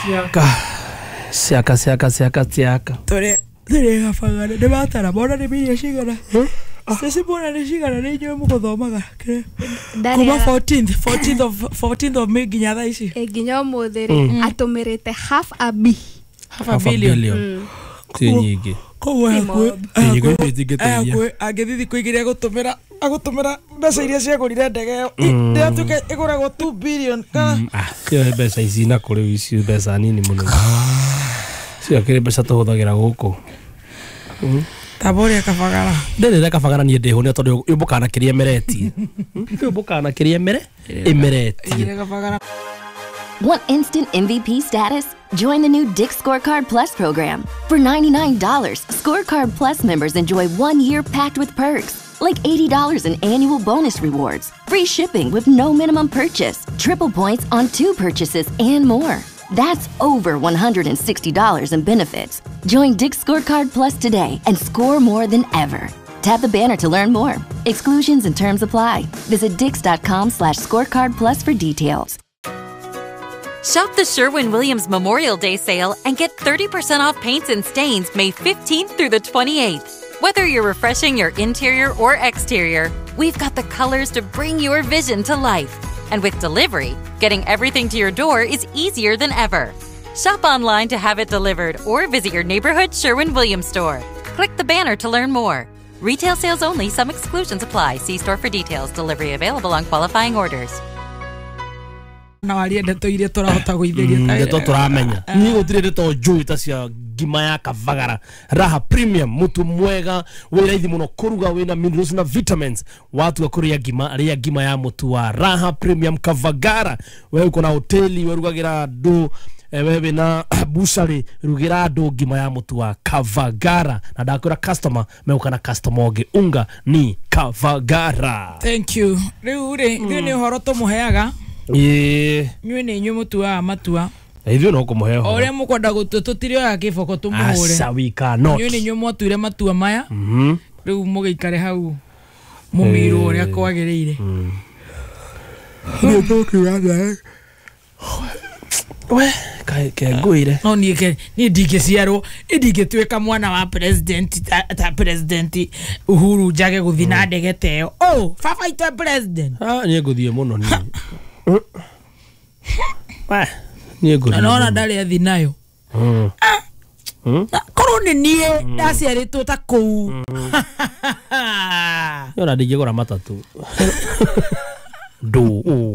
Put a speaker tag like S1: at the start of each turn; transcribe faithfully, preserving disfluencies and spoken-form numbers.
S1: Siaka siaka siaka siaka siaka
S2: tore tore gabagara nĩ matara mona nĩ mirioni cigana Ceci mona nĩ cigana nĩ inyuĩ mũgũthomaga kuma fourteenth fourteenth of fourteenth of May nginya thaa ici
S3: nginya ũmũthĩ rĩ atũmĩrĩte half a b
S2: half a billion
S1: ti nyingĩ
S2: koguo
S1: hakuhĩ
S2: angĩthiĩ thikũ igĩrĩ agũtũmĩra agũtũmĩra mbeca iria ciagũrire ndege ĩyo ndĩratuĩka ĩgũragwo two billion kana
S1: cio mbeca ici na kũrĩ ici mbeca nini mũno cio kĩrĩ mbeca tũhũthagĩra gũkũ
S2: Taboria kabagara
S1: ndĩrĩre kabagara niĩ ndĩhũne tondũ yũmbũkaga kĩrĩa ĩmeretie yũmbũkaga kĩrĩa ĩmere ĩmeretie.
S4: Want instant M V P status? Join the new Dick's Scorecard Plus program. For ninety-nine dollars, Scorecard Plus members enjoy one year packed with perks, like eighty dollars in annual bonus rewards, free shipping with no minimum purchase, triple points on two purchases, and more. That's over one hundred sixty dollars in benefits. Join Dick's Scorecard Plus today and score more than ever. Tap the banner to learn more. Exclusions and terms apply. Visit dicks.com slash scorecard plus for details.
S5: Shop the Sherwin-Williams Memorial Day sale and get thirty percent off paints and stains May fifteenth through the twenty-eighth. Whether you're refreshing your interior or exterior, we've got the colors to bring your vision to life. And with delivery, getting everything to your door is easier than ever. Shop online to have it delivered or visit your neighborhood Sherwin-Williams store. Click the banner to learn more. Retail sales only. Some exclusions apply. See store for details. Delivery available on qualifying orders.
S2: Na warie ndeto iria tũrahota gũithĩria
S1: ndeto tũramenya niĩ gũtirĩ ndeto njũĩ ta cia ngima ya kabagara Raha Premium mutu mwega wĩ raithi mũno kũruga wĩna minerals na vitamins watua kũrĩa ngima rĩa ngima ya mũtu wa Raha Premium Kavagara. We uko na hoteli werugagĩra andũ wewe wĩna bucari rugĩra andũ ngima ya mũtu wa Kavagara na ndakwĩra customer megũka na customer ũngĩ unga ni Kavagara.
S2: Thank you. Rĩu rĩ ithuĩ nĩ ũhoro tũmũheaga
S1: ĩĩ
S2: inyuĩ nĩ inyuĩ mũtuaga matua
S1: ithuĩ no kũmũhe
S2: ũhoro ũrĩa mũkwenda gũtua tũtirĩoya kĩboko tũmũhũre.
S1: Aca we cannot.
S2: Inyuĩ nĩ inyuĩ mwatuire matua maya rĩu mũgĩikare hau mũmirwo ũrĩa kwagĩrĩire.
S1: We kengũire
S2: no niĩ ke niĩ ndingĩciarwo niĩ ndingĩtuĩka mwana wa president ta, ta president Uhuru njage gũthiĩ na ndege ta ĩyo. Oh baba itũ president.
S1: Ah niĩ ngũthiĩ mũno niĩ. We niĩ ngũthiĩ.
S2: Nona ndarĩ athi nayo. Korwo nĩ niĩ ndaciarĩtwo ta kũu.
S1: Yona ndingĩgũra matatũ. Ndũ